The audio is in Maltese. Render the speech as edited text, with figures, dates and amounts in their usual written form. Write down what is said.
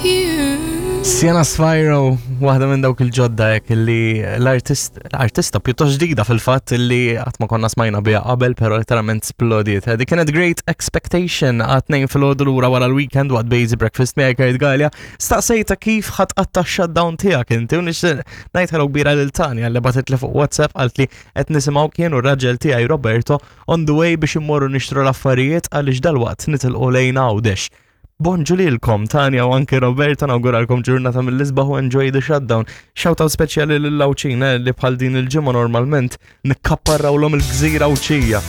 you. Sienna Spyro, waħda minn dawk il-ġodda hekk li l-artist, artista pjuttost ġdida fil-fatt li qatt ma konna smajna biha qabel, però literalment splodiet. Dik kienet Great Expectation għat tnejn filgħodu lura wara l-weekend waqt Bazy Breakfast miegħi Kurt Galea. Staqsejta kif ħa tqatta' shutdown tiegħek inti u nixtieq ngħid hello kbira lil Tanja li bagħtet li fuq WhatsApp qalt li qed nisimgħu kien u r-raġel tiegħi Roberto on the way biex immorru nixtru l-affarijiet għaliex dalwaqt nitilqu lejn Għawdex. Bonġu lilkom Tanja u anke Roberto nawguralkom ġurnata mill-isbaħ u enjoy the shutdown. Shoutout speċjali lil Għawdxin eh, li bħal din il-ġimgħa normalment nikkapparrawlhom il-gżira Għawdxija.